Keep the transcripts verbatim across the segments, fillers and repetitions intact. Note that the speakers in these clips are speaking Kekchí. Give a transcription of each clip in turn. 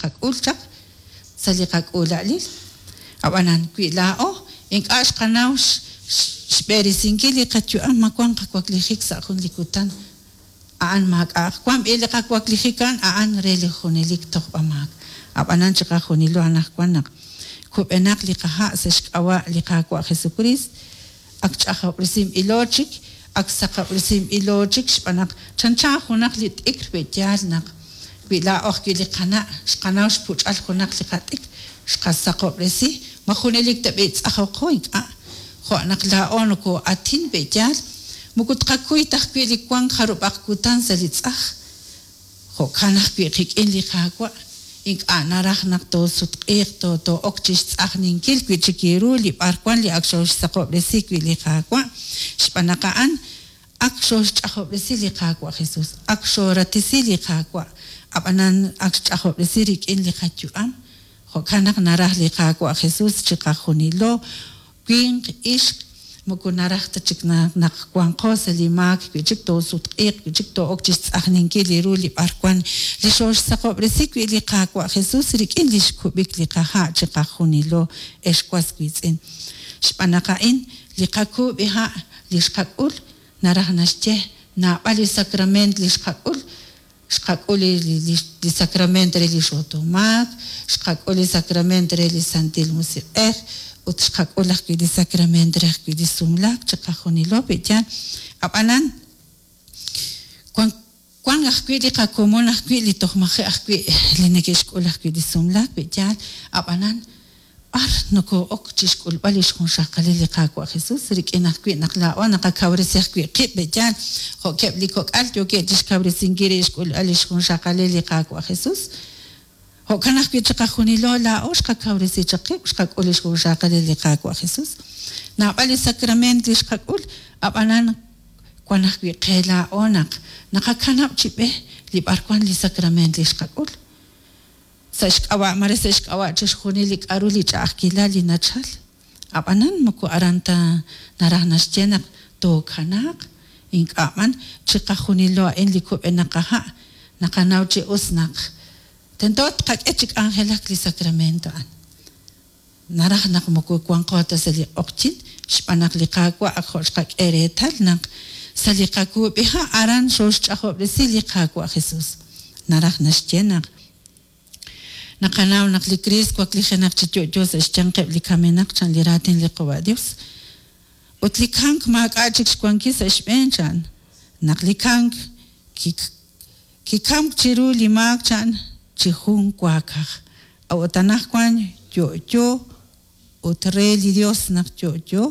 xqak'ul chaq sa' li qak'uula'alil. Ab'anan wi laa'o ink'a' xqanaw xb'eresinkil li qayu'am, ma wank qawaklijik sa' jun li kutan a'an maak'a'aq wank b'i li qawaklijik a'an a'an re li junelik tojb'amaak. Ab'anan chiqajunilo anaqwan naq kub'enaq li qaha' sa' xk'ab'a' li Qaawa' Jesukriist, ak ch'ajob'resinb'ilo chik, ak saqob'resinb'ilo chik xb'aan naq chanchan junaq li t'ikr pe'yaal naq wi laa'o ajwi' li qana' xqanaw xpuch'al junaq li qat'ikr xqasaqob'resi, ma junelik ta b'i tz'ajoqo ink'a', jo' naq laa'o nokoo'atin pe'yaal moko tqakuy ta ajwi' li wank jarub'aq kutan sa' li tz'aj. Jo'kan ajwi' qik'in li Qaawa' ink'a' naraj naq toosutq'iiq too'ok chi xtz'ajninkil wi' chik ru li b'arwan li ak xooxsaqob'resi wi' li Qaawa', xb'aan naq a'an ak xooxch'ajob'resi li Qaawa' Jesús, ak xooratisi li Qaawa', ab'anan ak xch'ajob'resi rik'in li qayu'am. Jo'kan naq naraj li Qaawa' Jesús chiqajunilo winq ixq, moko naraj ta chik naq wanqo sa' li maak wi' chik toosutq'iiq wi' chik too'ok chi xtz'ajninkil li ru li b'arwan li xooxsaqob'resi wi' li Qaawa' Jesús rik'in li xkub'ik li qaha' chiqajunilo ex was wiitz'in. Xb'aan naq a'in li qakuub'iha' li xqak'ul naraj naxye naab'al li sacrament li xqak'ul, xqak'ul li sacrament re li xotomaak, xqak'ul li sacrament re li Santil Musiq'ej ut xqak'ul ajwi' li sacrament re ajwi' li sumlaak chiqajunilo pe'yaal. Ab'anan wank wank ajwi' li qakomon ajwi' li toj maji' ajwi' li neke'xk'ul ajwi' li sumlaak pe'yaal. Ab'anan b'ar nokoo'ok chi xk'ulb'al li xjunxaqalil li Qaawa' Jesús rik'in ajwi' naq laa'o naqakawresi ajwi' qib' pe'yaal, jo'keb' li kok'al yookeb' chi xkawresinkil rib' xk'ulb'al li xjunxaqalil li Qaawa' Jesús. Jo'kan ajwi' chiqajunilo laa'o xqakawresi chaq qib' xqak'ul li xjunxaqalil li Qaawa' Jesús. Naab'al li sacrament li xqak'ul, ab'anan wan ajwi' qe laa'o naq naqakanab' chi b'e li b'arwan li sacrament li xqak'ul. Sa' xk'ab'a' mare sa' xk'ab'a' chixjunil li k'aru li ch'a'ajkilal li nachal. Ab'anan moko aran ta naraj naxye naq tookanaaq, ink'a' b'an chiqajunilo a'in li kub'enaq qaha' naqanaw chi us naq tento tqak'e chi k'anjelak li sacramento a'an. Naraj naq moko wanqo ta sa' li q'oqyink xb'aan naq li Qaawa' ak jo' xqak'e reetal naq sa' li qakuub'iha' aran xooxch'ajob'resi li Qaawa' Jesús. Naraj naxye naq naqanaw naq li Kriist waklijenaq chi yo'yo sa' xyanqeb' li kamenaq chan li raatin li Qaawa' Dios. Ut li kamk maak'a' chik xwankil sa' xb'een chan naq li kamk kikamk chiru li maak chan chi jun waakaj. A'ut anaqwan yo'yo ut re li Dios naq yo'yo,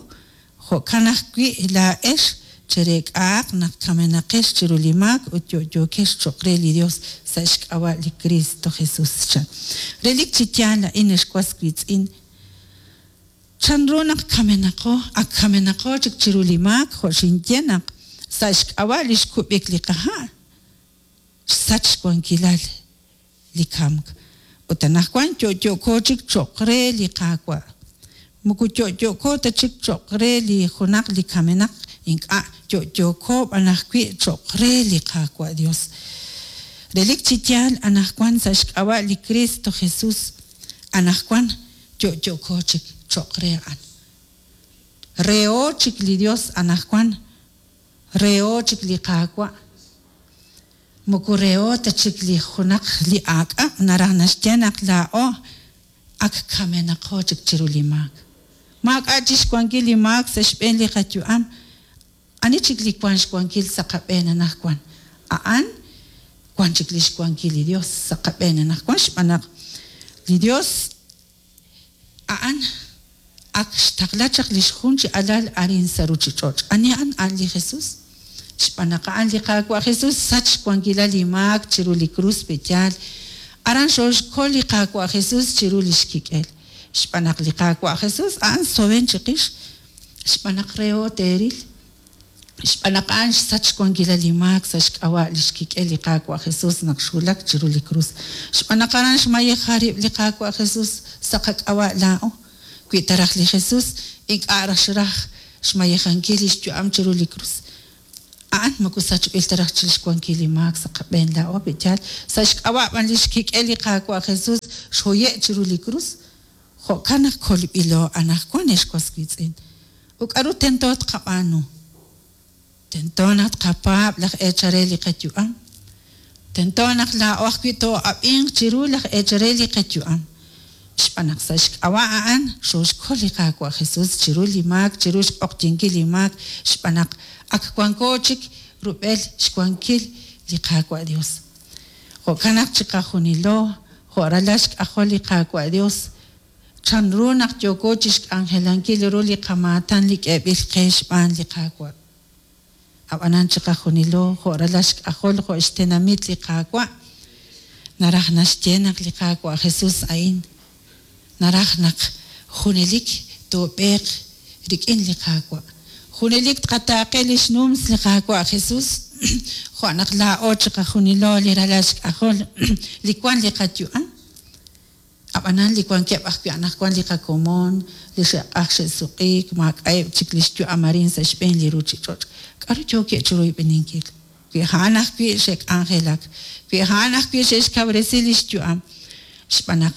jo'kan ajwi' laa'ex chereek'a'aq naq kamenaqex chiru li maak ut yo'yokex cho'q re li Dios sa' xk'ab'a' li Kristo Jesús chan. Relik chi yaal a'in ex was wiitz'in, chanru naq kamenaqo, ak kamenaqo chik chiru li maak jo' xinye naq sa' xk'ab'a' li xkub'ik li qaha' xsach xwankilal li kamk. Ut anaqwan yo'yo'ko chik cho'q re li Qaawa'. Moko yo'yo'ko ta chik cho'q re li junaq li kamenaq, ink'a' yo'yo'ko b'an ajwi' cho'q re li Qaawa' Dios. Relik chi yaal anaqwan sa' xk'ab'a' li Kristo Jesús, anaqwan yo'yo'ko chik cho'q re a'an. Reho chik li Dios anaqwan, reho chik li Qaawa'. Moko reho ta chik li junaq li aak'ab' naraj naxye naq laa'o ak kamenaqo chik chiru li maak. Maak'a' chi xwankil li maak sa' xb'een li qayu'am, ani chik li wank xwankil sa' qab'een anaqwan. A'an wan chik li xwankil li Dios sa' qab'een anaqwan xb'aan naq li Dios a'an ak xtaqla chaq li xjun chi alal arin sa' ruuchich'och'. Ani a'an? A'an li Jesús. Xb'aan naq a'an li Qaawa' Jesús sach xwankilal li maak chiru li krus pe'yaal. Aran xooxkol li Qaawa' Jesús chiru li xkik'el. Xb'aan naq li Qaawa' Jesús a'an sowen chiqix, xb'aan naq reho teeril. Xb'aan naq a'an xsach xwankilal li maak sa' xk'ab'a' li xkik'el li Qaawa' Jesús naq xwulak chiru li krus. Xb'aan naq aran xmayeja rib' li Qaawa' Jesús sa' qak'ab'a' laa'o. Wi taraj li Jesús ink'a' raj xraj xmayejankil li xyu'am chiru li krus. A'an moko sachb'il ta raj chi xwankil li maak sa' qab'een laa'o pe'yaal sa' xk'ab'a' b'an li xkik'el li Qaawa' Jesus xhoye' chiru li krus. Jo'kan naq kolb'ilo anaqwan, ex was wiitz'in. Ut k'aru tento tqab'aanu? Tento naq tqapaab' laj eechal re li qayu'am. Tento naq laa'o ajwi' too'ab'inq chiru laj eechal re li qayu'am. Xb'aan naq sa' xk'ab'a' a'an xooxkol li Qaawa' Jesus chiru li maak, chiru xq'oqyinkil li maak, xb'aan naq ak wanko chik rub'el xwankil li Qaawa' Dios. Jo'kan naq chiqajunilo jo' ralal xk'ajol li Qaawa' Dios, chanru naq yooko chixk'anjelankil ru li qamaatan li k'eeb'il qe xb'aan li Qaawa'. Ab'anan chiqajunilo jo' ralal xk'ajol jo' xtenamit li Qaawa', naraj naxye naq li Qaawa' Jesus a'in naraj naq junelik toob'eeq rik'in li Qaawa'. Junelik tqataaqe li xnums li Qaawa' Jesus, jo' naq laa'o chiqajunilo li ralal xk'ajol li wank li qayu'am. Ab'anan li wankeb' ajwi' anaqwan li qakomon, li xe'q'aj xe'suq'iik, maak'a'eb' chik li xyu'am arin sa' xb'een li ruuchich'och'. K'aru yookeb' chi royb'eninkil? Wi a'an ajwi' xe'k'anjelak, wi a'an ajwi' xe'xkawresi li xyu'am, xb'aan naq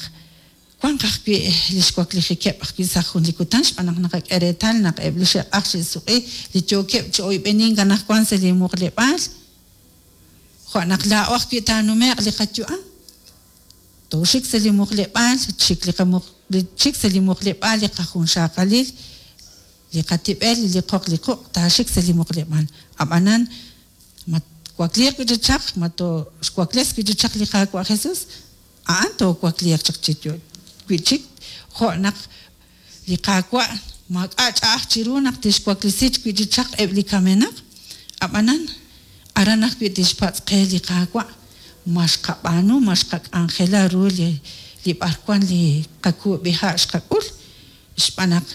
wanq ajwi' li xwaklijikeb' ajwi' sa' jun li kutan, xb'aan naq naqak'e reetal naq eb' li xe'q'aj xe'suq'i li yookeb' chi oyb'enink anaqwan sa' li muqleb'aal, jo' naq laa'o ajwi' taanume'q li qayu'am. Tooxik sa' li muqleb'aal, chik li qamuq chik sa' li muqleb'aal li qajunxaqalil, li qatib'el, li qoq li quq' taaxik sa' li muqleb'aal. Ab'anan ma twakliiq wi' chi chaq, ma tooxwakles wi' chi chaq li Qaawa' Jesus, a'an toowakliiq chaq chi wi' chik, jo' naq li Qaawa' maak'a' ch'a'aj chiru naq tixwaklesi wi' chi chaq eb' li kamenaq. Ab'anan aran ajwi' tixpatz' qe li Qaawa', ma xqab'aanu, ma xqak'anjela ru li li b'arwan li qakuub'iha' xqak'ul, xb'aan naq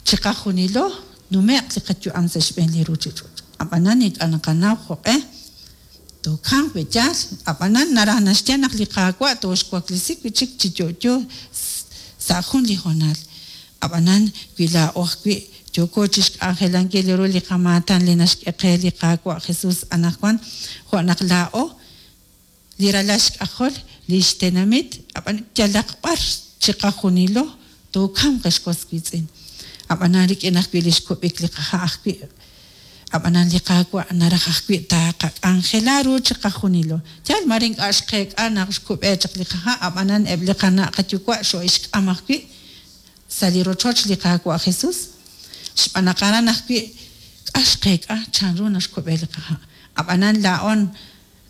chiqajunilo nume'q li qayu'am sa' xb'een li ruuchich'och'. Ab'anan ink'a' naqanaw jo'q'e tookamq pe'yaal, ab'anan naraj naxye naq li Qaawa' tooxwaklesi wi' chik chi yo'yo sa' jun li hoonal. Ab'anan wi laa'o ajwi' yooko chixk'anjelankil ru li qamaatan li naxk'e qe li Qaawa' Jesus anaqwan, jo' naq laa'o li ralal xk'ajol li xtenamit, ab'an yalaq b'ar chiqajunilo tookamq, ex was wiitz'in. Ab'anan rik'in ajwi' li xkub'ik li qaha' ajwi', ab'anan li Qaawa' naraj ajwi' taaqak'anjela ru chiqajunilo. Yaal mare ink'a' xqeek'a naq xkub'e chaq li qaha', ab'anan eb' li qana' qayuwa' xoo'ixk'am ajwi' sa' li rochoch li Qaawa' Jesus, xb'aan naq aran ajwi' k'a xqeek'a chanru naxkub'e li qaha'. Ab'anan laa'on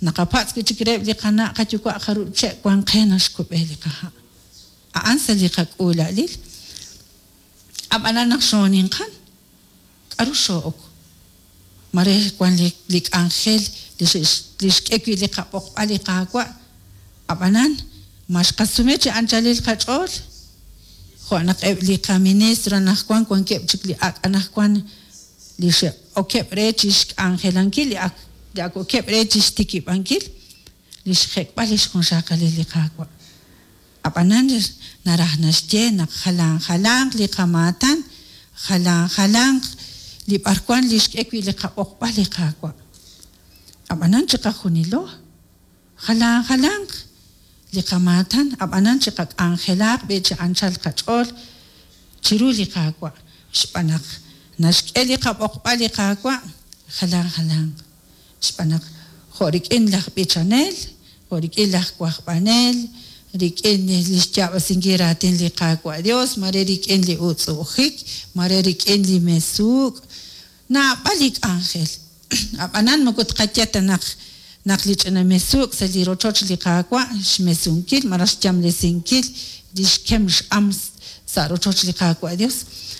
naqapatz' wi' chik reheb' li qana' qayuwa' jarub' che' wan qe naxkub'e li qaha'. A'an sa' li qak'uula'lil. Ab'anan naq xooninqan, k'aru xoo'ok? Mare wan li li k'anjel li xe'x li xk'e wi' li qab'oqb'al li Qaawa', ab'anan ma xqasume chi anchalil qach'ool? Jo' naq eb' li qaministro anaqwan wankeb' chik li ak' anaqwan li xe'okeb' re chi xk'anjelankil li ak li ak okeb' re chi xtikib'ankil li xjek'b'al li xjunxaqalil li Qaawa'. Ab'anan naraj naxye naq jalan jalanq li qamaatan, jalan jalanq li b'arwan li xk'e wi' li qab'oqb'al li Qaawa'. Ab'anan chiqajunilo jalan jalanq li qamaatan, ab'anan chiqak'anjelaaq b'i chi anchal qach'ool chiru li Qaawa', xb'aan naq naxk'e li qab'oqb'al li Qaawa' jalan jalanq. Xb'aan naq jo' rik'in laj b'ichanel, jo' rik'in laj wajb'anel, rik'in li xyaab'asinkil raatin li Qaawa' Dios, mare rik'in li utz'u'ujik, mare rik'in li mesuuk', naab'al li k'anjel. Ab'anan moko tqaye ta naq naq li ch'ina mesuuk' sa' li rochoch li Qaawa' xmesunkil malaj xyamlesinkil li xkem x'am sa' rochoch li Qaawa' Dios,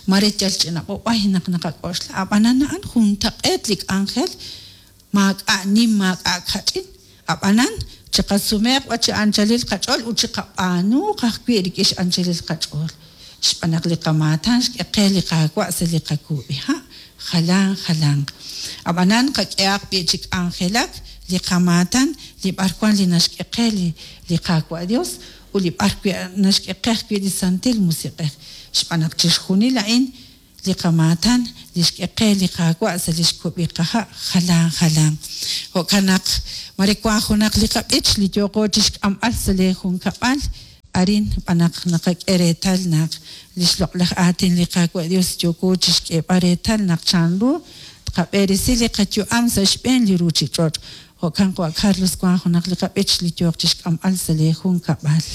mare yal ch'ina b'ob'ay naq naqak'oxla. Ab'anan a'an juntaq'eet li k'anjel, maak'a' nim, maak'a' kach'in. Ab'anan chiqasumeeq b'a chi anchalil qach'ool ut chiqab'aanuuq ajwi' rik'in x'anchalil qach'ool. Xb'aan naq li qamaatan xk'e qe li Qaawa' sa' li qakuub'iha' jalan jalanq. Ab'anan qak'ehaq b'i chi k'anjelak li qamaatan li b'arwan li naxk'e qe li li Qaawa' Dios ut li b'ar wi' naxk'e qe ajwi' li Santil Musiq'ej. Xb'aan naq chixjunil a'in li qamaatan li xk'e qe li Qaawa' sa' li xkub'i qaha' jalan jalan. Jo'kan naq mare wank junaq li qab'ich li yooqo chixk'amb'al sa' lee junkab'al arin b'anaq naqak'e reetal naq li xloq'laj aatin li Qaawa' Dios yooko chixk'eeb'al reetal naq chanru tqab'eresi li qayu'am sa' xb'een li ruchich'och'. Jo'kan qawa' Carlos wank junaq li qab'ich li yooq chixk'amb'al sa' lee junkab'al.